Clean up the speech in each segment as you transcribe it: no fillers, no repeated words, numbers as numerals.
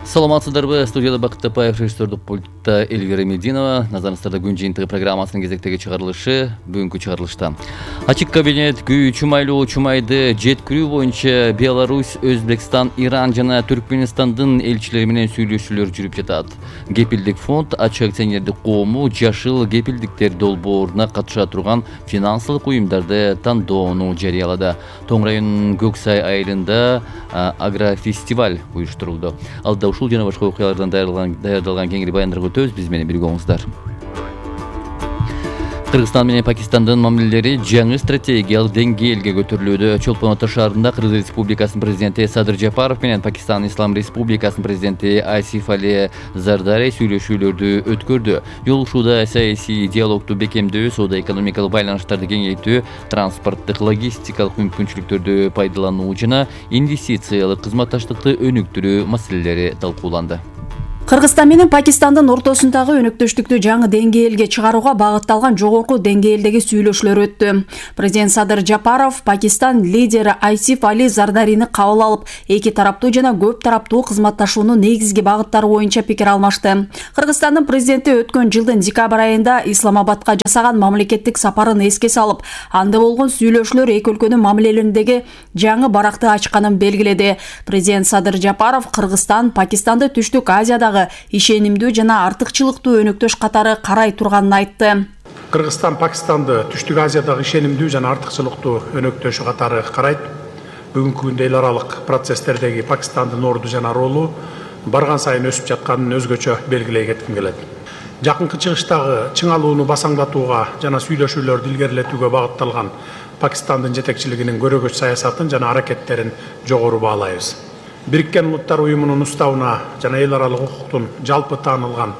Саламатсыздарбы? Студияда Бакыт Тапаев, режиссердик пультта Эльвира Мединова. Назарыңыздарда күн жыйынтыгы программасынын кезектеги чыгарылышы. Бүгүнкү чыгарылышта ачык кабинет күйүү чумайлуу чумайды жеткирүү боюнча Беларусь, Өзбекстан, Иран жана Түркменстандын элчилери менен сүйлөшүүлөр жүрүп жатат. Кепилдик фонд ачык акционердик коому жашыл кепилдиктер долбооруна катыша турган финансылык уюмдарды тандоону жарыялады. Тоң районунун Көксай айылында агрофестиваль уюштурулду. Алда ушул жана башка окуялардан даярдалган кеңири баяндарга өтөбүз. Биз менен бирге болуңуздар. Кыргызстан менен Пакистандын мамилелери жаңы стратегиялык деңгээлге көтөрүлүүдө. Чолпон Ата шаарында Кыргыз Республикасынын президенти Садыр Жапаров менен Пакистан Ислам Республикасынын президенти Асиф Али Зардари сүйлөшүүлөрдү өткөрдү. Жолугушууда саясий диалогду бекемдөө, соода-экономикалык байланыштарды кеңейтүү, транспорттук логистикалык мүмкүнчүлүктөрдү пайдалануу жана инвестициялык кызматташтыкты өнүктүрүү маселелери талкууланды. Кыргызстан менен Пакистандын ортосундагы өнөктөштүктү жаңы деңгээлге чыгарууга багытталган жогорку деңгээлдеги сүйлөшүүлөр өттү. Президент Садыр Жапаров Пакистан лидери Асиф Али Зардарини кабыл алып, эки тараптуу жана көп тараптуу кызматташуунун негизги багыттары боюнча пикир алмашты. Кыргызстандын президенти өткөн жылдын декабрь айында Исламабадка жасаган мамлекеттик сапарын эске салып, анда болгон сүйлөшүүлөр эки өлкөнүн мамилелериндеги жаңы баракты ачканын белгиледи. Президент Садыр Жапаров Кыргызстан Пакистанды Түштүк Азиядагы ишенимдүү жана артыкчылыктуу өнөктөш катары карай турганын айтты. Кыргызстан Пакистанды Түштүк Азиядагы ишенимдүү жана артыкчылыктуу өнөктөш катары карайт. Бүгүнкү күндө эл аралык процесстердеги Пакистандын орду жана ролу барган сайын өсүп жатканын өзгөчө белгилей кетким келет. Жакынкы чыгыштагы чыңалууну басаңдатууга жана сүйлөшүүлөрдү илгерилетүүгө багытталган Пакистандын жетекчилигинин көрөгөч саясатын жана аракеттерин жогору баалайбыз. Бириккен Улуттар уюмунун уставына жана эл аралык укуктун жалпы таанылган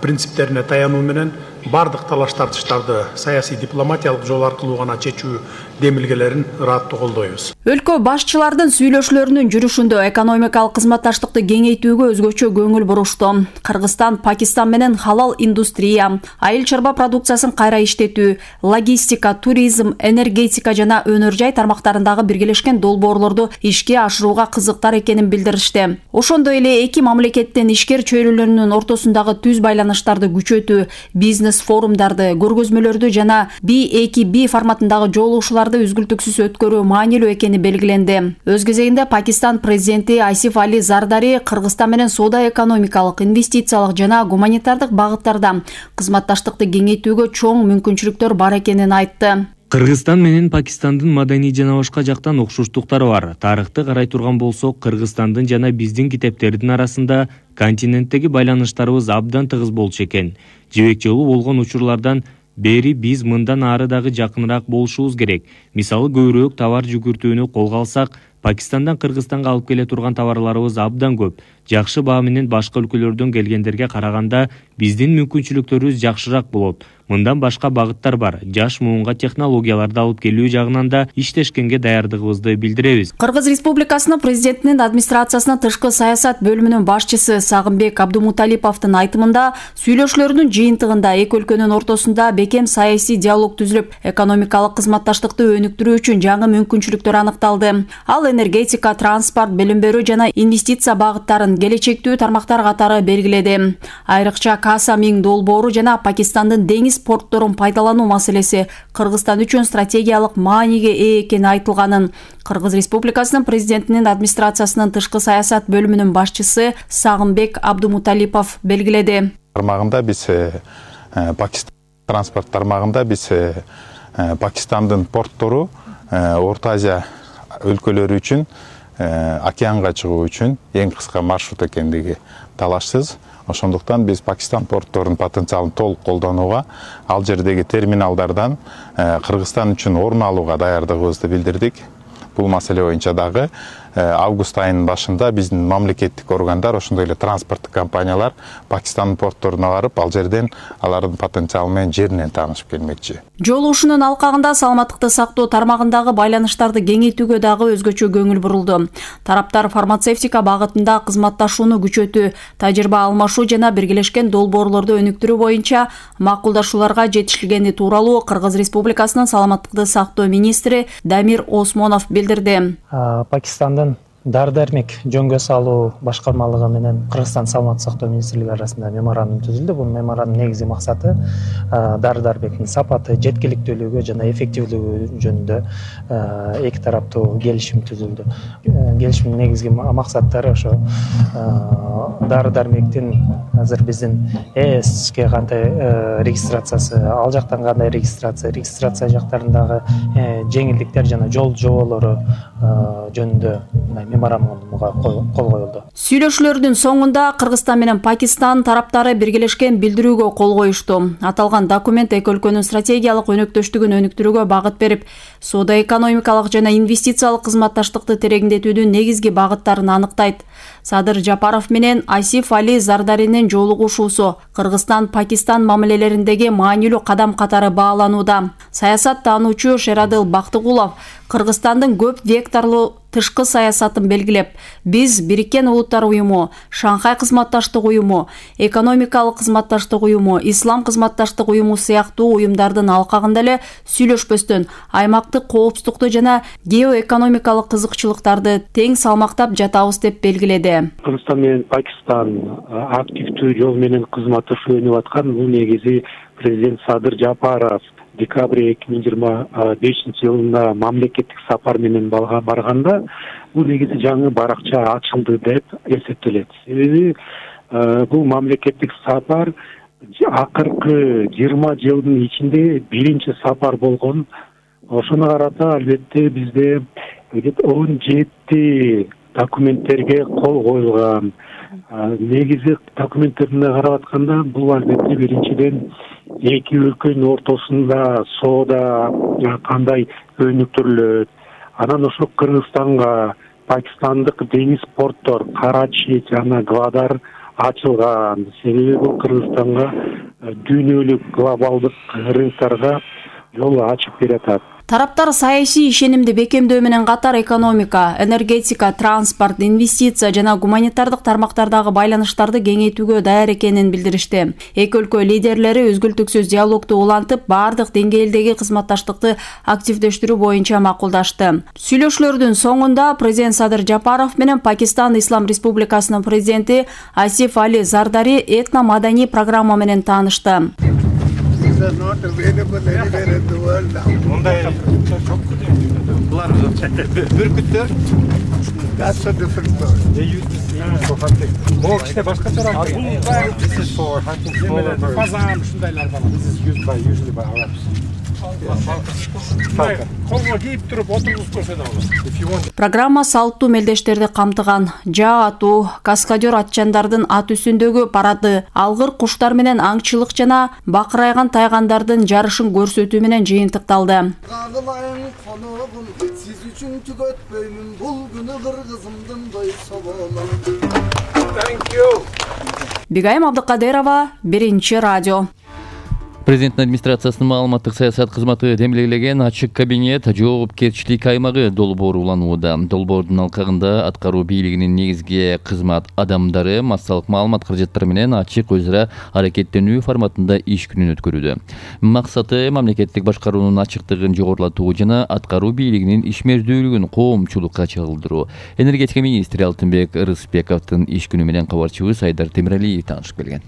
принциптерине таянуу менен бардык талаш тартыштарды саясий дипломатиялык жол аркылуу гана чечүү демилгелерин ыраттуу колдойбуз. Өлкө башчылардын сүйлөшүүлөрүнүн жүрүшүндө экономикалык кызматташтыкты кеңейтүүгө өзгөчө көңүл бурушту. Кыргызстан Пакистан менен халал индустрия, айыл чарба продукциясын кайра иштетүү, логистика, туризм, энергетика жана өнөр жай тармактарындагы биргелешкен долбоорлорду ишке ашырууга кызыктар экенин билдиришти. Ошондой эле эки мамлекеттин ишкер чөйрөлөрүнүн ортосундагы түз байланыштарды күчөтүү, бизнес форумдарды, көргөзмөлөрдү жана B2B форматындагы жолугушууларды үзгүлтүксүз өткөрүү маанилүү экени белгиленди. Өз кезегинде Пакистан президенти Асиф Али Зардари Кыргызстан менен соода-экономикалык, инвестициялык жана гуманитардык багыттарда кызматташтыкты кеңейтүүгө чоң мүмкүнчүлүктөр бар экенин айтты. Кыргызстан менен Пакистандын маданий жана башка жактан окшоштуктары бар. Тарыхты карай турган болсок, Кыргызстандын жана биздин китептердин арасында континенттеги байланыштарыбыз абдан тыгыз болчу экен. Жибек жолу болгон учурлардан бери биз мындан ары дагы жакыныраак болушубуз керек. Мисалы, көбүрөөк товар жүгүртүүнү колго алсак, Пакистандан Кыргызстанга алып келе турган товарларыбыз абдан көп. Жакшы баа менен башка өлкөлөрдөн келгендерге караганда биздин мүмкүнчүлүктөрүбүз жакшыраак болот. Мындан башка багыттар бар. Жаш муунга технологияларды алып келүү жагынан да иштешкенге даярдыгыбызды билдиребиз. Кыргыз Республикасынын президентинин администрациясынын тышкы саясат бөлүмүнүн башчысы Сагынбек Абдумуталиповдун айтымында, сүйлөшүүлөрдүн жыйынтыгында эки өлкөнүн ортосунда бекем саясий диалог түзүлүп, экономикалык кызматташтыкты өнүктүрүү үчүн жаңы мүмкүнчүлүктөр аныкталды. Ал энергетика, транспорт, билим берүү жана инвестиция багыттарын келечектүү тармактар катары белгиледи. Айрыкча Каса Миң долбоору жана Пакистандын деңиз портторун пайдалануу маселеси Кыргызстан үчүн стратегиялык мааниге ээ экени айтылганын Кыргыз Республикасынын президентинин администрациясынын тышкы саясат бөлүмүнүн башчысы Сагынбек Абдумуталипов белгиледи. Тармагында биз Пакистан транспорт тармагында биз Пакистандын порттору Орто Азия өлкөлөрү үчүн океанга чыгуу үчүн эң кыска маршрут экендиги талашсыз. Ошондуктан биз Пакистан портторунун потенциалын толук колдонууга, ал жердеги терминалдардан Кыргызстан үчүн орун алууга даярдыгыбызды билдирдик. Бул маселе боюнча дагы август айынын башында биздин мамлекеттик органдар, ошондой эле транспорттук компаниялар Пакистандын портторуна барып, ал жерден алардын потенциалы менен жеринен таанышып келмекчи. Жолугушуунун алкагында саламаттыкты сактоо тармагындагы байланыштарды кеңейтүүгө дагы өзгөчө көңүл бурулду. Тараптар фармацевтика багытында кызматташууну күчөтүү, тажрыйба алмашуу жана биргелешкен долбоорлорду өнүктүрүү боюнча макулдашууларга жетишилгени тууралуу Кыргыз Республикасынын саламаттыкты сактоо министри Дамир Осмонов билдирди. Пакистандын Дары дармек жөнгө салуу башкармалыгы менен Кыргызстан саламаттык сактоо министрлиги арасында меморандум түзүлдү. Бул меморандумдун негизги максаты дары дармектин сапаты, жеткиликтүүлүгү жана эффективдүүлүгү жөнүндө эки тараптуу келишим түзүлдү. Келишимдин негизги максаттары ошо дары дармектин азыр биздин ЭСке кандай регистрациясы, ал жактан кандай регистрация жактарындагы жеңилдиктер жана жол жоболору жөнүндө меморандумга кол коюлду. Сүйлөшүүлөрдүн соңунда Кыргызстан менен Пакистан тараптары биргелешкен билдирүүгө кол коюшту. Аталган документ эки өлкөнүн стратегиялык өнөктөштүгүн өнүктүрүүгө багыт берип, соода-экономикалык жана инвестициялык кызматташтыкты тереңдетүүнүн негизги багыттарын аныктайт. Садыр Жапаров менен Асиф Али Зардаринин жолугушуусу Кыргызстан-Пакистан мамилелериндеги маанилүү кадам катары бааланууда. Саясат таануучу Шерадыл Бактыгулов Кыргызстандын көп векторлуу тышкы саясатын белгилеп, биз Бириккен Улуттар уюму, Шанхай кызматташтык уюму, экономикалык кызматташтык уюму, Ислам кызматташтык уюму сыяктуу уюмдардын алкагында эле сүйлөшпөстөн аймактык коопсуздукту жана геоэкономикалык кызыкчылыктарды тең салмактап жатабыз деп белгиледи. Кыргызстан менен Пакистан активдүү жол менен кызматташуу өнүп аткан. Бул негизи президент Садыр Жапаров декабрь 2025 жылында мамлекеттик сапар менен барганда бул негизи жаңы баракча ачылды деп эсептелет. Себеби бул мамлекеттик сапар акыркы 20 жылдын ичинде биринчи сапар болгон. Ошону карата албетте бизде 17 документтерге кол коюлган. Негизи документтерине карап атканда бул албетте биринчиден эки өлкөнүн ортосунда соода кандай өнүктүрүлөт, анан ошо Кыргызстанга пакистандык деңиз порттор Карачи жана Гвадар ачылган. Себеби бул Кыргызстанга дүйнөлүк глобалдык рыноктарга жол ачып берет. Тараптар саясий ишенимди бекемдөө менен катар экономика, энергетика, транспорт, инвестиция жана гуманитардык тармактардагы байланыштарды кеңейтүүгө даяр экенин билдиришти. Эки өлкө лидерлери өзгүлтүксүз диалогду улантып, бардык деңгээлдеги кызматташтыкты активдештирүү боюнча макулдашты. Сүйлөшүүлөрдүн соңунда президент Садыр Жапаров менен Пакистан Ислам Республикасынын президенти Асиф Али Зардари этно-маданий программа менен таанышты. Bunlar bürküttür. That's so different bird. They use the same for hunting. Bu işte başka taraf. This is for hunting smaller birds. Fazan şundaylardan. This is used by usually by Arabs. Программа салттуу мелдештерди камтыган. Жаа атуу, каскадер атчандардын ат үстүндөгү парады, алгыр куштар менен аңчылык жана бакырайган тайгандардын жарышын көрсөтүү менен жыйынтыкталды. Siz üçün tüketmeyim, bul günü Kırgızımdın doysa bolam. Thank you. Бигайым Абдыкадырова, Биринчи радио. Президенттин администрациясынын маалыматтык саясат кызматы демилгелеген ачык кабинет жоопкерчилик аймагы долбоору уланууда. Долбоордун алкагында аткаруу бийлигинин негизги кызмат адамдары массалык маалымат каражаттары менен ачык өз ара аракеттенүү форматында иш күнүн өткөрүүдө. Максаты мамлекеттик башкаруунун ачыктыгын жогорулатуу жана аткаруу бийлигинин ишмердүүлүгүн коомчулукка чагылдыруу. Энергетика министри Алтынбек Рыспековдун иш күнү менен кабарчыбыз Айдар Темиралиев таанышып келген.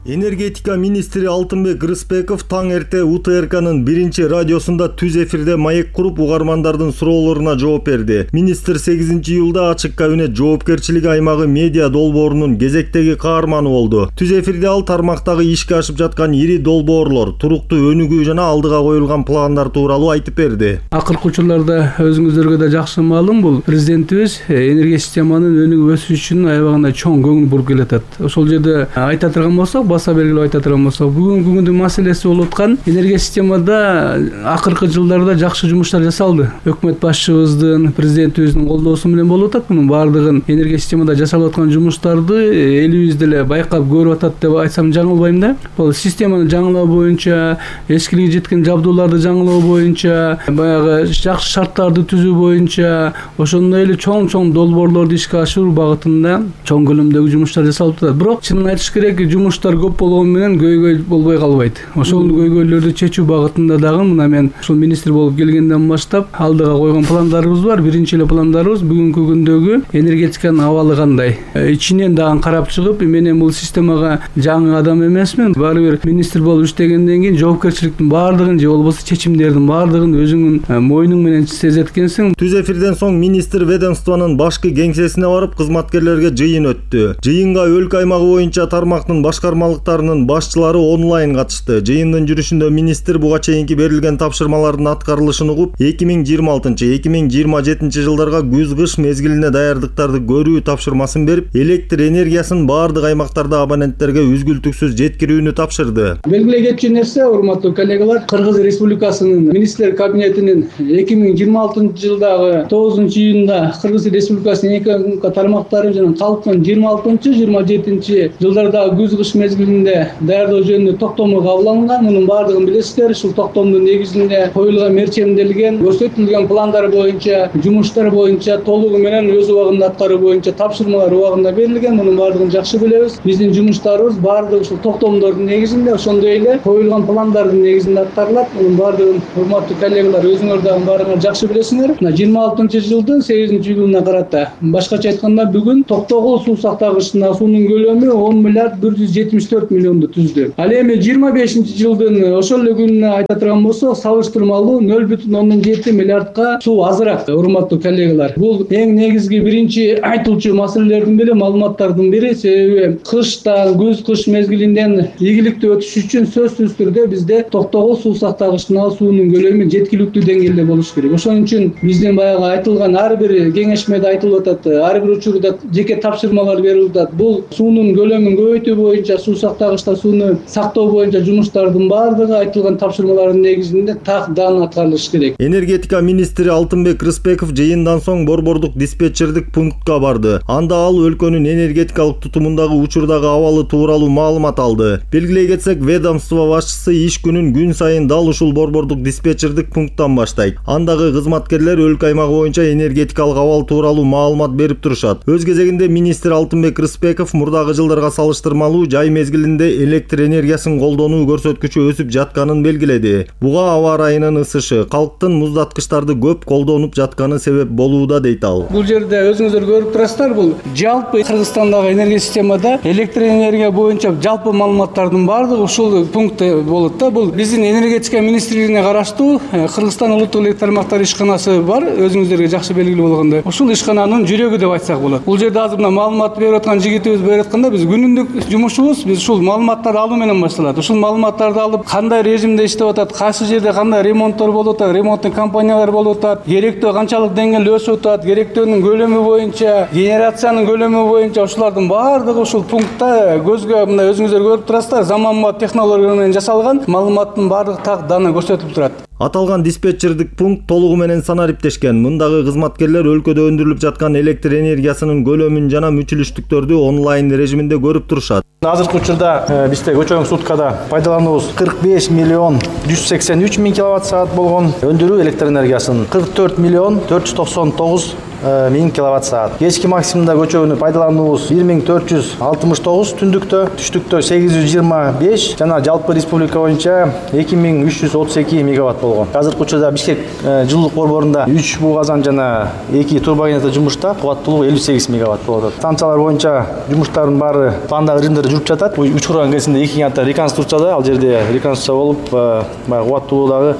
Энергетика министри Алтынбек Рыспеков таң эрте УТРКнын биринчи радиосунда түз эфирде маек куруп угармандардын суроолоруна жооп берди. Министр 8-июлда ачык кабинет жоопкерчилик аймагы медиа долбоорунун кезектеги каарманы болду. Түз эфирде ал тармактагы ишке ашып жаткан ири долбоорлор, туруктуу өнүгүү жана алдыга коюлган пландар тууралуу айтып берди. Акыркы учурларда өзүңүздөргө да жакшы маалым, бул президентибиз энергия системанын өнүгүп өсүшүнүн аябагында чоң көңүл буруп келатат. Ошол жерде айта турган болсок, баса белгилеп айта турган болсок, бүгүнкү күндүн маселеси болуп аткан энергия системада акыркы жылдарда жакшы жумуштар жасалды. Өкмөт башчыбыздын, президентибиздин колдоосу менен болуп атат. Мунун баардыгын энергия системада жасалып аткан жумуштарды элибиз деле байкап көрүп атат деп айтсам жаңылбайм да. Бул системаны жаңылоо боюнча, эскилиги жеткен жабдууларды жаңылоо боюнча, баягы жакшы шарттарды түзүү боюнча, ошондой эле чоң долбоорлорду ишке ашыруу багытында чоң көлөмдөгү жумуштар жасалып атат. Бирок чынын айтыш керек, жумуштар көп болгону менен көйгөй болбой калбайт. Ошол көйгөйлөрдү чечүү багытында дагы мына мен ушул министр болуп келгенден баштап алдыга койгон пландарыбыз бар. Биринчи эле пландарыбыз бүгүнкү күндөгү энергетиканын абалы кандай. Ичинен дагы карап чыгып, мен бул системага жаңы адам эмесмин. Баары бир министр болуп иштегенден кийин жоопкерчиликтин баардыгын же болбосо чечимдердин баардыгын өзүңүн мойнуң менен сезеткенсиң. Түз эфирден соң министр ведомствонун башкы кеңсесине барып кызматкерлерге жыйын өттү. Жыйынга өлкө аймагы боюнча тармактын башкармалыктарынын башчылары онлайн катышты. Жыйындын жүрүшүндө министр буга чейинки берилген тапшырмалардын аткарылышын угуп, 2026-2027 жылдарга күз-кыш мезгилине даярдыктарды көрүү тапшырмасын берип, электр энергиясын баардык аймактарда абоненттерге үзгүлтүксүз жеткирүүнү тапшырды. Белгилей кетчү нерсе, урматтуу коллегалар, Кыргыз Республикасынын министрлер кабинетинин 2026 жылдагы 9-июнда Кыргыз Республикасынын экономика тармактары жана калктын 26-27 жылдардагы күз-кыш мезгилинде даярдоо жөнүндө токтому кабыл алынган. Мунун баардыгын билесиздер. Ушул токтомдун негизинде коюлган мерчемделген, көрсөтүлгөн пландар боюнча, жумуштар боюнча толугу менен өз убагында аткаруу боюнча тапшырмалар убагында берилген. Мунун баардыгын жакшы билебиз. Биздин жумуштарыбыз баардыгы ушул токтомдордун негизинде, ошондой эле коюлган пландардын негизинде аткарылат. Мунун баардыгын урматтуу коллегалар өзүңөр дагы баардыгын жакшы билесиңер. 26-жылдын 8-июлуна карата, башкача айтканда бүгүн Токтогул суу сактагычына суунун көлөмү 10 миллиард 174 миллионду түздү. Ал эми 25-жылдын ошол эле күнүнө айта турган болсок, салыштырмалуу 0,7 миллиардка суу азыраак. Урматтуу коллегалар, бул эң негизги биринчи айтылчу маселелердин бири, маалыматтардын бири. Себеби кышта, күз-кыш мезгилинден ийгиликтүү өтүш үчүн сөзсүз түрдө бизде Токтогул суу сактагычына суунун көлөмү жеткиликтүү деңгээлде болуш керек. Ошон үчүн биздин баягы айтылган ар бир кеңешмеде айтылып атат, ар бир учурда жеке тапшырмалар берилип атат. Бул суунун көлөмүн көбөйтүү боюнча, суу сактагычта сууну сактоо боюнча жумуштардын баардыгы айтылган тапшырмалардын негизинде так-дан аткарылыш керек. Энергетика министри Алтынбек Рыспеков жыйындан соң борбордук диспетчердик пунктка барды. Анда ал өлкөнүн энергетикалык тутумундагы учурдагы абалы тууралуу маалымат алды. Белгилей кетсек, ведомство башчысы иш күнүн күн сайын дал ушул борбордук диспетчердик пункттан баштайт. Андагы кызматкерлер өлкө аймагы боюнча энергетикалык абал тууралуу маалымат берип турушат. Өз кезегинде министр Алтынбек Рыспеков мурдагы жылдарга салыштырмалуу жай мезгилинде электр энергиясын колдонуу көрсөткүчү өсүп жатканын белгиледи. Буга аба ырайынын ысышы, калктын муздаткычтарды көп колдонуп жатканы себеп болууда, дейт ал. Бул жерде өзүңүздөр көрүп турасыздар, бул жалпы Кыргызстандагы энергия системада электр энергия боюнча жалпы маалыматтардын баардыгы ушул пунктта болот да. Бул биздин энергетика министрлигине караштуу Кыргызстан улуттук электр тармактары ишканасы бар, өзүңүздөргө жакшы белгилүү болгондой. Ушул ишкананын жүрөгү деп айтсак болот. Бул жерде азыр мына маалымат берип аткан жигитибиз берип атканда, биз күнүндүк жумушубуз биз ушул маалыматтарды алуу менен башталат. Ушул маалыматтарды алып, кандай режимде иштеп атат, кайсы жерде кандай ремонттор болуп атат, ремонттун компаниялары болуп атат, керектөө канчалык деңгээлде өсүп атат, керектөөнүн көлөмү боюнча, генерациянын көлөмү боюнча ушулардын баардыгы ушул пунктта көзгө мына өзүңүздөр көрүп турасыздар, заманбап технология менен жасалган маалыматтын баардык так даны көрсөтүп турат. Аталган диспетчердик пункт толугу менен санариптешкен. Мындагы кызматкерлер өлкөдө өндүрүлүп жаткан электр энергиясынын көлөмүн жана мүчүлүштүктөрдү онлайн режиминде көрүп турушат. Азыркы учурда бизде көчөгөн суткада пайдалануубуз 45 миллион 183 миң киловатт саат болгон, өндүрүү электр энергиясын 44 миллион 499 1000 киловатт саат. Кечки максимумда көчөгөнү пайдалануубуз 1469, түндүктө, түштүктө 825 жана жалпы республика боюнча 2332 мегаватт болгон. Азыркы учурда Бишкек жылуулук борборунда 3 буу казан жана 2 турбогенератор жумушта, кубаттуулугу 58 мегаватт болот. Станциялар боюнча жумуштардын баары пландагы режимдерде жүрүп жатат. Учурган кезинде 2 ката реконструкцияда, ал жерде реконструкция болуп, кубаттуулугу дагы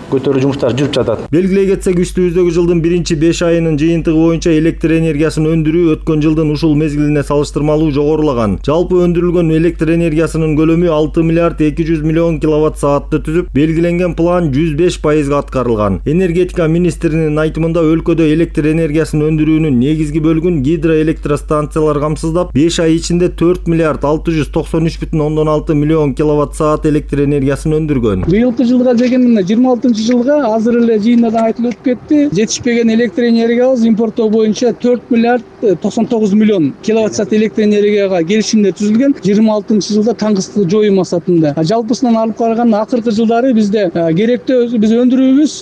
көтөрүү жумуштары жүрүп жатат. Белгилей кетсек, үстүбүздөгү жылдын 1-5 айынын жыйынтыгы боюнча электр энергиясын өндүрүү өткөн жылдын ушул мезгилине салыштырмалуу жогорулаган. Жалпы өндүрүлгөн электр энергиясынын көлөмү 6 миллиард 200 миллион киловатт саатты түзүп, белгиленген план 105% аткарылган. Энергетика министринин айтымында өлкөдө электр энергиясын өндүрүүнүн негизги бөлүгүн гидроэлектростанциялар камсыздап, 5 ай ичинде 4 миллиард 693,6 миллион киловатт саат электр энергиясын өндүргөн. Быйылкы жылга дегенде 26 жылга азыр эле жыйында да айтылып өтүп кетти. Жетишпеген электр энергиябыз импорттоо боюнча 4 миллиард 99 миллион киловатт саат электр энергияга келишимдер түзүлгөн 26-жылда таңгысты жоюу максатында. Жалпысынан алып караганда акыркы жылдары бизде керектүү биз өндүрүүбүз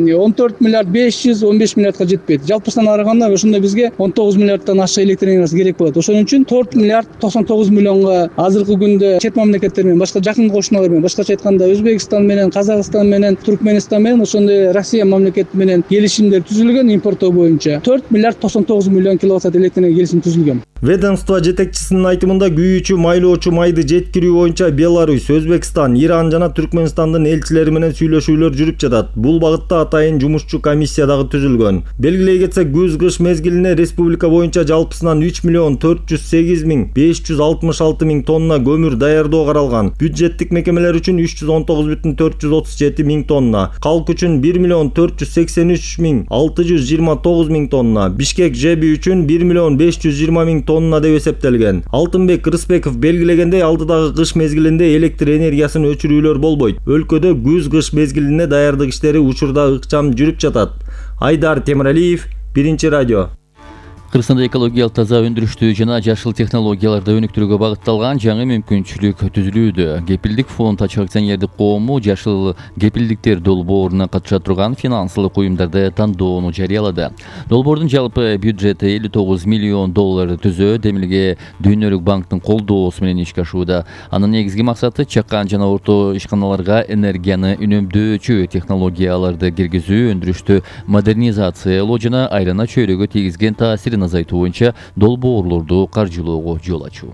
14 миллиард 515 миллиардга жетпейт. Жалпысынан караганда ошондо бизге 19 миллиардтан ашык электр энергиясы керек болот. Ошон үчүн 4 миллиард 99 миллионго азыркы күндө чет мамлекеттер менен, башка жакын кошуналар менен, башкача айтканда Өзбекстан менен, Казакстан менен, Туркменистан менен, ошондой Россия мамлекети менен келишимдер түзүлгөн импорттоо боюнча 4 миллиард 99 миллион киловатт саат электр энергия келишим түзүлгөн. Ведомство жетекчисинин айтымында күйүүчү майлоочу майды жеткирүү боюнча Беларусь, Өзбекстан, Иран жана Түркмөнстандын элчилери менен сүйлөшүүлөр жүрүп жатат. Бул багытта атайын жумушчу комиссия дагы түзүлгөн. Белгилей кетсек, күз-кыш мезгилине республика боюнча жалпысынан 3 миллион 408 миң 566 миң тонна көмүр даярдоо каралган. Бюджеттик мекемелер үчүн 319,437 миң тонна, калк үчүн 1 миллион 483 миң 629 миң тонна, Бишкек ЖЭБи үчүн 1 миллион 520 миң тонна деп эсептелген. Алтынбек Рыспеков белгилегендей, алдыдагы кыш мезгилинде электр энергиясын өчүрүүлөр болбойт. Өлкөдө күз-кыш мезгилине даярдык иштери учурда ыкчам жүрүп жатат. Айдар Темиралиев, Биринчи радио. Кыргызстанда экологиялык таза өндүрүштүү жана жашыл технологияларды өнүктүрүүгө багытталган жаңы мүмкүнчүлүк түзүлүүдө. Кепилдик фонд ачык акционердик коому жашыл кепилдиктер долбооруна катыша турган финансылык уюмдарды тандоону жарыялады. Долбоордун жалпы бюджети $59 миллион түзөө, демилге Дүйнөлүк банктын колдоосу менен ишке ашууда. Анын негизги максаты чакан жана орто ишканаларга энергияны үнөмдөөчү технологияларды киргизүү, өндүрүштү модернизациялоо жана айлана чөйрөгө тийгизген таасирин азайтуу боюнча долбоорлорду каржылоого жол ачуу.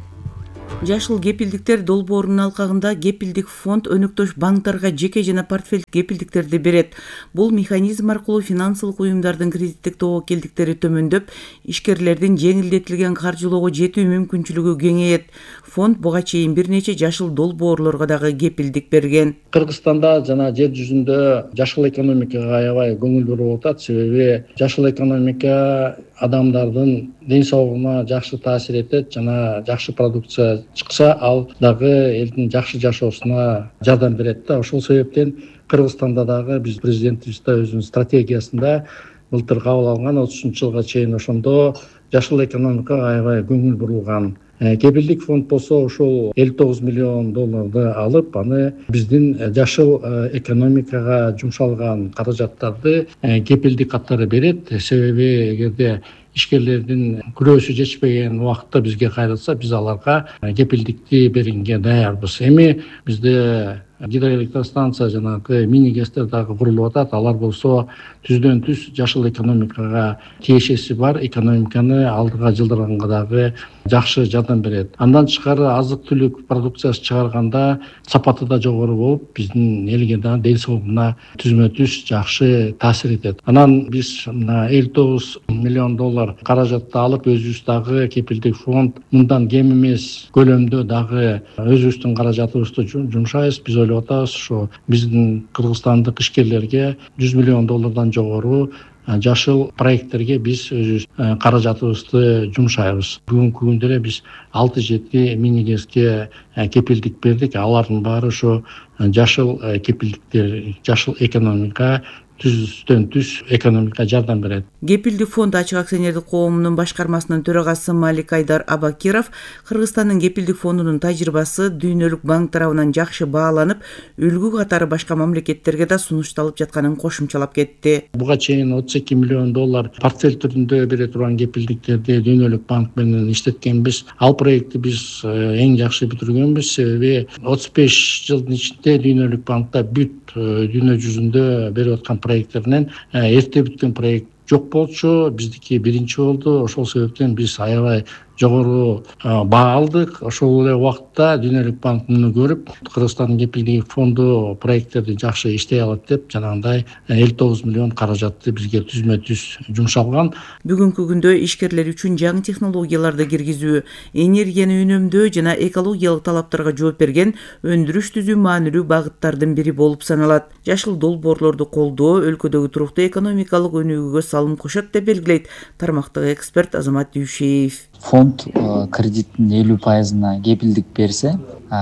Жашыл кепилдиктер долбоорунун алкагында кепилдик фонд өнөктөш банктарга жеке жана портфель кепилдиктерди берет. Бул механизм аркылуу финансылык уюмдардын кредиттик тобокелдиктери төмөндөп, ишкерлердин жеңилдетилген каржылоого жетүү мүмкүнчүлүгү кеңейет. Фонд буга чейин бир нече жашыл долбоорлорго дагы кепилдик берген. Кыргызстанда жана жер жүзүндө жашыл экономикага аябай көңүл буруп атат. Себеби жашыл экономика адамдардын ден соолугуна жакшы таасир этет жана жакшы продукция чыкса, ал дагы элдин жакшы жашоосуна жардам берет да. Ошол себептен Кыргызстанда дагы биз президентибиз да өзүнүн стратегиясында былтыр кабыл алган 30-жылга чейин ошондо жашыл экономикага аябай көңүл бурулган. Кепилдик фонд болсо ошол $59 миллион алып, аны биздин жашыл экономикага жумшалган каражаттарды кепилдик катары берет. Себеби эгерде ишкерлердин күрөөсү жетишпеген убакытта бизге кайрылса, биз аларга кепилдикти берүүгө даярбыз. Эми бизде гидроэлектростанция жанагы мини гэстер дагы курулуп атат. Алар болсо түздөн түз жашыл экономикага тиешеси бар, экономиканы алдыга жылдырганга дагы жакшы жардам берет. Андан тышкары азык-түлүк продукциясы чыгарганда сапаты да жогору болуп, биздин элге да ден соолугуна түзмө түз жакшы таасир этет. Анан биз $59 миллион каражатты алып, өзүбүз дагы кепилдик фонд мындан кем эмес көлөмдө дагы өзүбүздүн каражатыбызды жумшайбыз. Биз ойлоп атабыз, ошо биздин кыргызстандык ишкерлерге $100 миллион жогору жашыл проекттерге биз өзүбүз каражатыбызды жумшайбыз. Бүгүнкү күндө эле биз 6-7 мини гэске кепилдик бердик. Алардын баары ошо жашыл кепилдиктер, жашыл экономика түздөн түз экономикага жардам берет. Кепилдик фонд ачык акционердик коомунун башкармасынын төрагасы Малик Айдар Абакиров Кыргызстандын кепилдик фондунун тажрыйбасы Дүйнөлүк банк тарабынан жакшы бааланып, үлгү катары башка мамлекеттерге да сунушталып жатканын кошумчалап кетти. Буга чейин $32 миллион портфель түрүндө бере турган кепилдиктерди Дүйнөлүк банк менен иштеткенбиз. Ал проектти биз эң жакшы бүтүргөнбүз. Себеби 35 жылдын ичинде Дүйнөлүк банкта бүт дүйнө жүзүндө берип аткан проекттеринен эрте бүткөн проект жок болчу. Биздики биринчи болду. Ошол себептен биз аябай жогору баа алдык. Ошол эле убакытта Дүйнөлүк банк муну көрүп, Кыргызстандын кепилдик фонду проекттерди жакшы иштей алат деп, жанагындай $59 миллион каражатты бизге түзмө түз жумшалган. Бүгүнкү күндө ишкерлер үчүн жаңы технологияларды киргизүү, энергияны үнөмдөө жана экологиялык талаптарга жооп берген өндүрүш түзүү маанилүү багыттардын бири болуп саналат. Жашыл долбоорлорду колдоо өлкөдөгү туруктуу экономикалык өнүгүүгө салым кошот деп белгилейт тармактагы эксперт Азамат Дүйшеев. фонд кредиттин 50%-на кепилдик берсе,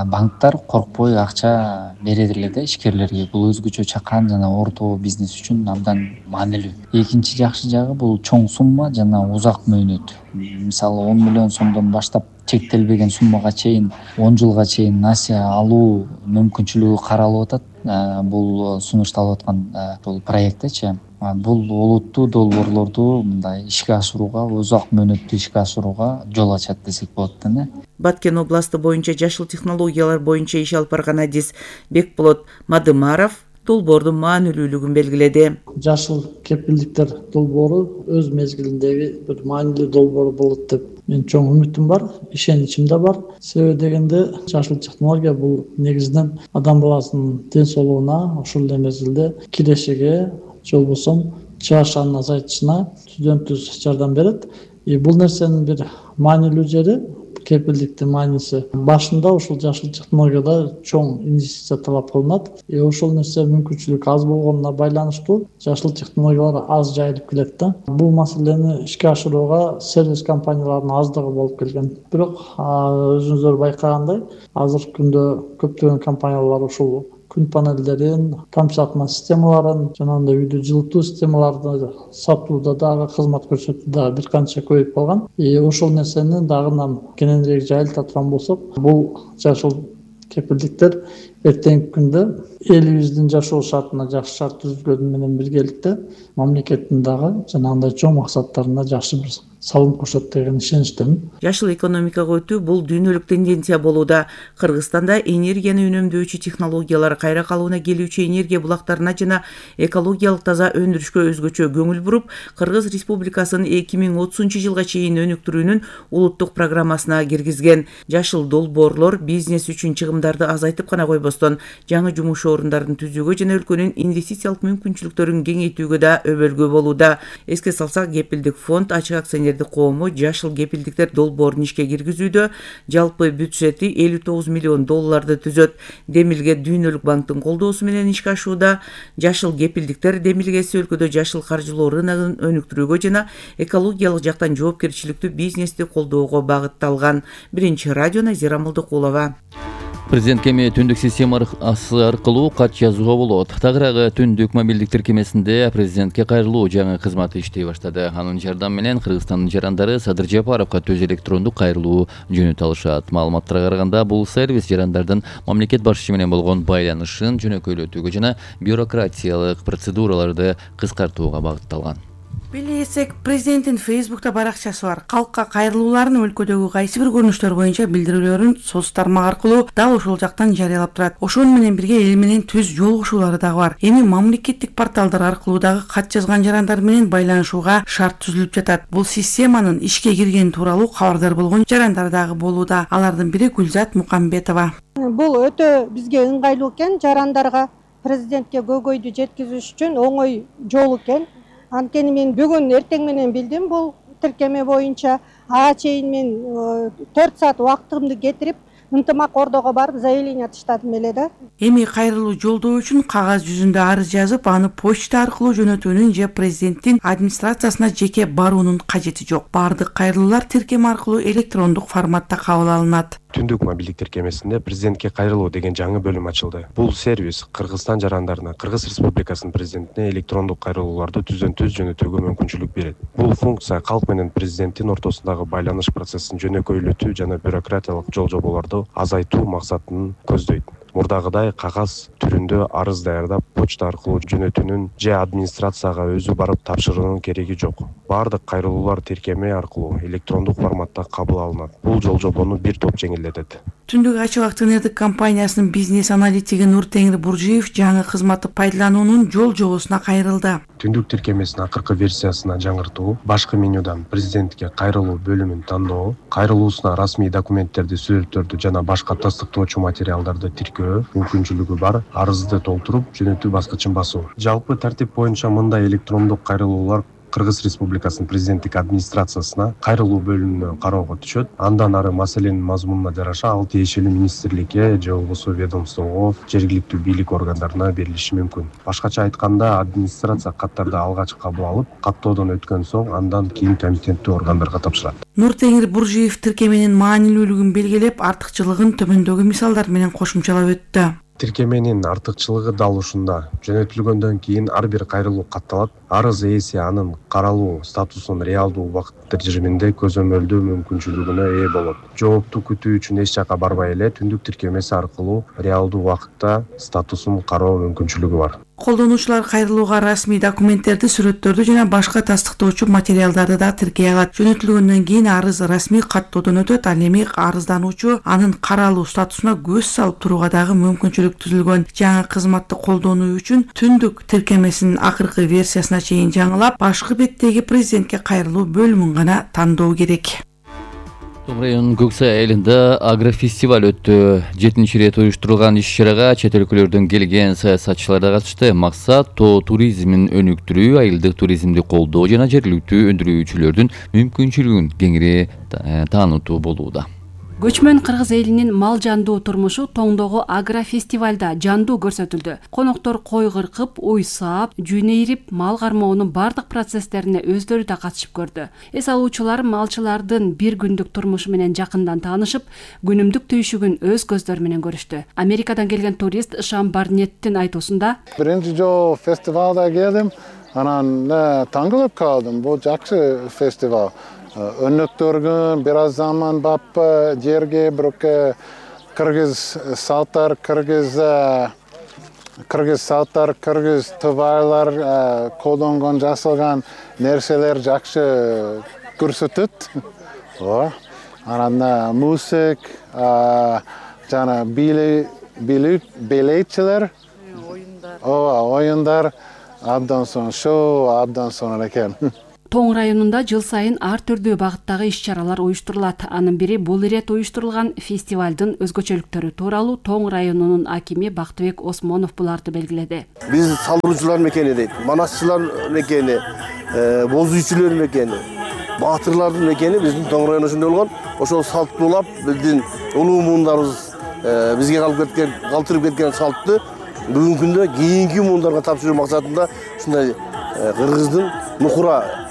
банктар коркпой акча берет эле да ишкерлерге. Бул өзгөчө чакан жана орто бизнес үчүн абдан маанилүү. Экинчи жакшы жагы бул чоң сумма жана узак мөөнөт. Мисалы 10 миллион сомдон баштап чектелбеген суммага чейин 10 жылга чейин насия алуу мүмкүнчүлүгү каралып атат. Бул сунушталып аткан бул проекттечи. Бул олуттуу долбоорлорду мындай ишке ашырууга, узак мөөнөттүү ишке ашырууга жол ачат десек болот да. Баткен областы боюнча жашыл технологиялар боюнча иш алып барган адис Бекболот Мадымаров долбоордун маанилүүлүгүн белгиледи. Жашыл кепилдиктер долбоору өз мезгилиндеги бир маанилүү долбоор болот деп мен чоң үмүтүм бар, ишеничим да бар. Себеби дегенде жашыл технология бул негизинен адам баласынын ден соолугуна, ошол эле мезгилде кирешиге, же болбосо чыгашанын азайтышына түздөн-түз жардам берет. Бул нерсенин бир маанилүү жери, кепилдиктин мааниси башында ушул жашыл технологияда чоң инвестиция талап кылынат. Ошол нерсе мүмкүнчүлүк аз болгонуна байланыштуу жашыл технологиялар аз жайылып келет да. Бул маселени ишке ашырууга сервис компанияларынын аздыгы болуп келген. Бирок өзүңүздөр байкагандай, азыркы күндө көптөгөн компаниялар ушул күн панелдерин, тамчылатма системаларын, жана андай үйдү жылытуу системаларын сатууда дагы, кызмат көрсөтүүдө бир канча көбөйүп калган. Ошол нерсени дагы кененирээк жайылта турган болсок, бул жашыл кепилдиктер эртеңки күндө элибиздин жашоо шартына жакшы шарт түзүлгөнү менен биргеликте мамлекеттин дагы жанагындай чоң максаттарына жакшы бир салым кошот деген ишеничтемин. Жашыл экономикага өтүү бул дүйнөлүк тенденция болууда. Кыргызстанда энергияны үнөмдөөчү технологиялар, кайра калыбына келүүчү энергия булактарына жана экологиялык таза өндүрүшкө өзгөчө көңүл буруп, Кыргыз Республикасынын 2030-жылга чейин өнүктүрүүнүн улуттук программасына киргизген. Жашыл долбоорлор бизнес үчүн чыгымдарды азайтып гана койбостон, жаңы жумуш орундарын түзүүгө жана өлкөнүн инвестициялык мүмкүнчүлүктөрүн кеңейтүүгө да өбөлгө болууда. Эске салсак, Кепилдик фонд ачык акционер коому жашыл кепилдиктер долбоорун ишке киргизүүдө жалпы бюджети $59 миллион түзөт. Демилге Дүйнөлүк банктын колдоосу менен ишке ашууда. Жашыл кепилдиктер демилгеси өлкөдө жашыл каржылоо рыногун өнүктүрүүгө жана экологиялык жактан жоопкерчиликтүү бизнести колдоого багытталган. Биринчи радио, Назира Молдокулова. Президент эми түндүк системасы аркылуу кат жазууга болот. Тагыраагы түндүк мобилдик тиркемесинде президентке кайрылуу жаңы кызматы иштей баштады. Анын жардамы менен Кыргызстандын жарандары Садыр Жапаровго түз электрондук кайрылуу жөнөтө алышат. Маалыматтарга караганда, бул сервис жарандардын мамлекет башчысы менен болгон байланышын жөнөкөйлөтүүгө жана бюрократиялык процедураларды кыскартууга багытталган. Билесек, президенттин Facebook'та баракчасы бар. Калкка кайрылууларын өлкөдөгү кайсы бир көрүнүштөр боюнча билдирүүлөрүн соц тармак аркылуу дал ошол жактан жарыялап турат. Ошону менен бирге эл менен түз жолугушуулары дагы бар. Эми мамлекеттик порталдар аркылуу дагы кат жазган жарандар менен байланышууга шарт түзүлүп жатат. Бул системанын ишке киргени тууралуу кабардар болгон жарандар дагы болууда. Алардын бири Гүлзат Мукамбетова. Бул өтө бизге ыңгайлуу экен, жарандарга президентке көйгөйдү жеткизиш үчүн оңой жол экен. Анткени мен бүгүн эртең менен билдим бул тиркеме боюнча. Ага чейин мен 4 саат убактымды кетирип, ынтымак ордого барып заявление таштадым эле да. Эми кайрылуу жолдоо үчүн кагаз жүзүндө арыз жазып, аны почта аркылуу жөнөтүүнүн же президенттин администрациясына жеке баруунун кажети жок. Бардык кайрылуулар тиркеме аркылуу электрондук форматта кабыл алынат. Түндүк мобилдик тиркемесинде президентке кайрылуу деген жаңы бөлүм ачылды. Бул сервис Кыргызстан жарандарына Кыргыз Республикасынын президентине электрондук кайрылууларды түздөн-түз жөнөтүүгө мүмкүнчүлүк берет. Бул функция калк менен президенттин ортосундагы байланыш процессин жөнөкөйлөтүү жана бюрократиялык жол-жоболорду азайтуу максатын көздөйт. Мурдагыдай кагаз түрүндө арыз даярдап, почта аркылуу жөнөтүүнүн же администрацияга өзү барып тапшыруунун кереги жок. Бардык кайрылуулар тиркеме аркылуу электрондук форматта кабыл алынат. Бул жол-жобону бир топ жеңилдетет. Түндүк ачык акционердик компаниясынын бизнес аналитиги Нуртеңир Буржиев жаңы кызматты пайдалануунун жол-жобосуна кайрылды. Түндүк тиркемесинин акыркы версиясына жаңыртуу, башкы менюдан президентке кайрылуу бөлүмүн тандоо, кайрылуусуна расмий документтерди, сүрөттөрдү жана башка тастыктоочу материалдарды тиркөө мүмкүнчүлүгү бар, арызды толтуруп, жөнөтүү баскычын басуу. Жалпы тартип боюнча мындай электрондук кайрылуулар Кыргыз Республикасынын президенттик администрациясына кайрылуу бөлүмүнө кароого түшөт. Андан ары маселенин мазмунуна жараша ал тиешелүү министрликке же болбосо ведомствого, жергиликтүү бийлик органдарына берилиши мүмкүн. Башкача айтканда, администрация каттарды алгач кабыл алып, каттоодон өткөн соң андан кийин компетенттүү органдарга тапшырат. Нуртеңир Буржиев тиркеменин маанилүүлүгүн белгилеп, артыкчылыгын төмөндөгү мисалдар менен кошумчалап өттү. Тиркеменин артыкчылыгы дал ушунда. Жөнөтүлгөндөн кийин ар бир кайрылуу катталат. Арыз ээси анын каралуу статусун реалдуу убакыт режиминде көзөмөлдөө мүмкүнчүлүгүнө ээ болот. Жоопту күтүү үчүн эч жака барбай эле түндүк тиркемеси аркылуу реалдуу убакытта статусун кароо мүмкүнчүлүгү бар. Колдонуучулар кайрылууга расмий документтерди, сүрөттөрдү жана башка тастыктоочу материалдарды да тиркей алат. Жөнөтүлгөндөн кийин арыз расмий каттоодон өтөт. Ал эми арыздануучу анын каралуу статусуна көз салып турууга дагы мүмкүнчүлүк түзүлгөн. Жаңы кызматты колдонуу үчүн түндүк тиркемесинин акыркы версиясына чейин жаңылап, башкы беттеги президентке кайрылуу бөлүмүн гана тандоо керек. Том районунун Көксай айылында агрофестиваль өттү. 7-чи ирет уюштурулган иш-чарага чет өлкөлөрдөн келген саясатчылар да катышты. Максат тоо туризмин өнүктүрүү, айылдык туризмди колдоо жана жергиликтүү өндүрүүчүлөрдүн мүмкүнчүлүгүн кеңири таанытуу болууда. Көчмөн кыргыз элинин мал жандуу турмушу Тоңдогу агрофестивальда жандуу көрсөтүлдү. Коноктор кой кыркып, уй саап, жүүн ийрип, мал кармоонун бардык процесстерине өздөрү да катышып көрдү. Эс алуучулар малчылардын бир күндүк турмушу менен жакындан таанышып, күнүмдүк түйшүгүн өз көздөрү менен көрүштү. Америкадан келген турист Шам Барнеттин айтуусунда: Биринчи жолу фестивалда келдим, анан таңкалып калдым. Бул жакшы фестиваль. Өнөктөргөн бир аз заман баппы жерге бирок кыргыз салттар, кыргыз товарлар колдонгон жасалган нерселер жакшы көрсөтөт. Анан музык жана бийлейчилер, оюндар, абдан сонун шоу, абдан сонун экен. Тоң районунда жыл сайын ар түрдүү багыттагы иш-чаралар уюштурулат. Анын бири бул ирет уюштурулган фестивалдын өзгөчөлүктөрү тууралуу Тоң районунун акими Бактыбек Осмонов буларды белгиледи. Биз салгыруучулар мекени дейт, манасчылар мекени, боз үйчүлөр мекени, баатырлардын мекени биздин Тоң району ошондой болгон. Ошол салттуулап биздин улуу муундарыбыз бизге калтырып кеткен салтты бүгүнкү күндө кийинки муундарга тапшыруу максатында ушундай кыргыздын нукура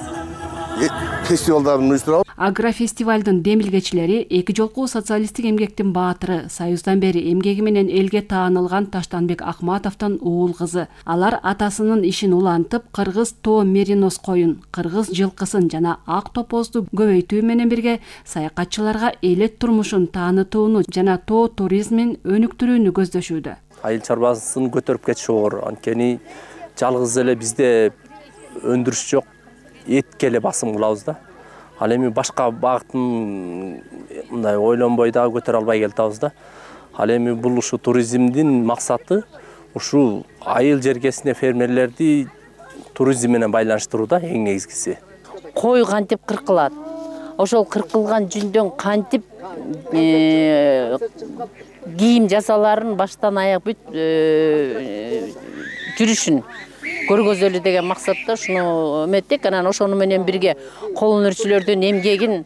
фестивалдарын уюштурабыз. Агрофестивалдын демилгечилери эки жолку социалисттик эмгектин баатыры, Союздан бери эмгеги менен элге таанылган Таштанбек Акматовдун уул кызы. Алар атасынын ишин улантып, кыргыз тоо меринос коюн, кыргыз жылкысын жана ак топозду көбөйтүү менен бирге саякатчыларга элет турмушун таанытууну жана тоо туризмин өнүктүрүүнү көздөшүүдө. Айыл чарбасын көтөрүп кетиши оор. Анткени жалгыз эле бизде өндүрүш жок, этке эле басым кылабыз да. Ал эми башка багытын мындай ойлонбой дагы көтөрө албай келатабыз да. Ал эми бул ушу туризмдин максаты ушу айыл жергесине фермерлерди туризм менен байланыштыруу да эң негизгиси. Кой кантип кыркылат? Ошол кыркылган жүндөн кантип кийим жасаларын баштан аяк бүт жүрүшүн көргөзөлү деген максатта ушуну эметтик. Анан ошону менен бирге кол өнөрчүлөрдүн эмгегин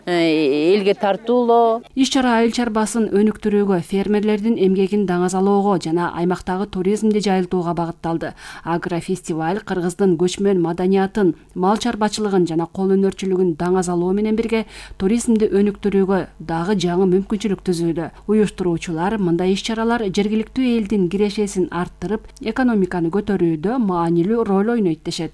элге тартуулоо. Иш-чара айыл чарбасын өнүктүрүүгө, фермерлердин эмгегин даңазалоого жана аймактагы туризмди жайылтууга багытталды. Агрофестиваль кыргыздын көчмөн маданиятын, мал чарбачылыгын жана кол өнөрчүлүгүн даңазалоо менен бирге туризмди өнүктүрүүгө дагы жаңы мүмкүнчүлүк түзүүдө. Уюштуруучулар мындай иш-чаралар жергиликтүү элдин кирешесин арттырып, экономиканы көтөрүүдө маанилүү роль ойнойт дешет.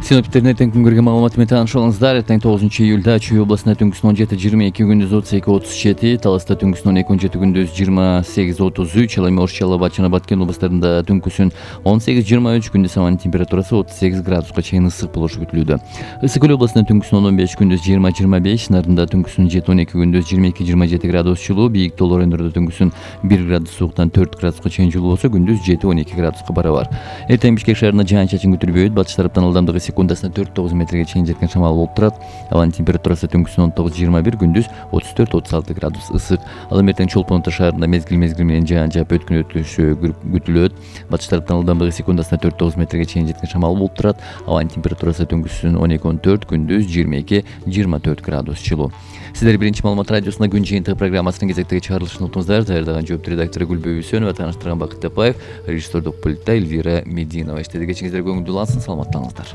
Синоптиктердин эртең күнгөргө маалыматы менен тааныша алыңыздар. Эртең 9 июлда Чүй областында түнкүсүн 17-22, күндүз 32-37, Таласта түнкүсүн 12-17, күндүз 28-33, ал эми Ош, Чалабат жана Баткен областарында түнкүсүн 18-23, күндүз абанын температурасы 38 градуска чейин ысык болушу күтүлүүдө. Ысык Көл областында түнкүсүн 15, күндүз 20-25, Нарында түнкүсүн 7-12, күндүз 22-27 градус жылуу, бийик тоолор өңдөрдө түнкүсүн 1 градус сууктан 4 градуска чейин жылуу болсо, күндүз 7-12 градуска барабар. Эртең Бишкек шаарында жаан-чачын күтүлбөйт, батыш тараптан ылдамдыгы секундасына 4-9 метрге чейин жеткен шамал болуп турат. Абанын температурасы түнкүсүн 19-21, күндүз 34-36 градус ысык. Ал эми эртең Чолпон Ата шаарында мезгил менен жаан жаап өткөн өтүшү күтүлөт. Батыш тараптан ылдамдыгы секундасына 4-9 метрге чейин жеткен шамал болуп турат. Абанын температурасы түнкүсүн 12-14, күндүз 22-24 градус жылуу. Сиздер биринчи маалымат радиосунда күн жыйынтыгы программасынын кезектеги чыгарылышын уктуңуздар. Даярдаган жооптуу редактору Гүлбөй Үсөнова, тааныштырган Бакыт Тапаев, режиссердук пультта Эльвира Мединова. Иштеди кечиңиздер көңүлдүү улансын, саламаттаңыздар.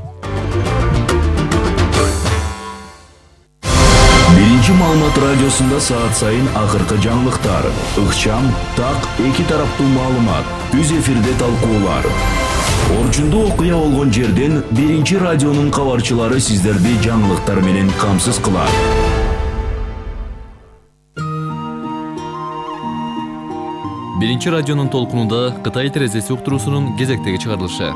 Биринчи маалымат радиосунда саат сайын акыркы жаңылыктар, ыкчам, так, эки тараптуу маалымат, түз эфирде талкуулар. Орчундуу окуя болгон жерден биринчи радионун кабарчылары сиздерди жаңылыктар менен камсыз кылат. Биринчи радионун толкунунда Кытай терезеси уктуруусунун кезектеги чыгарылышы.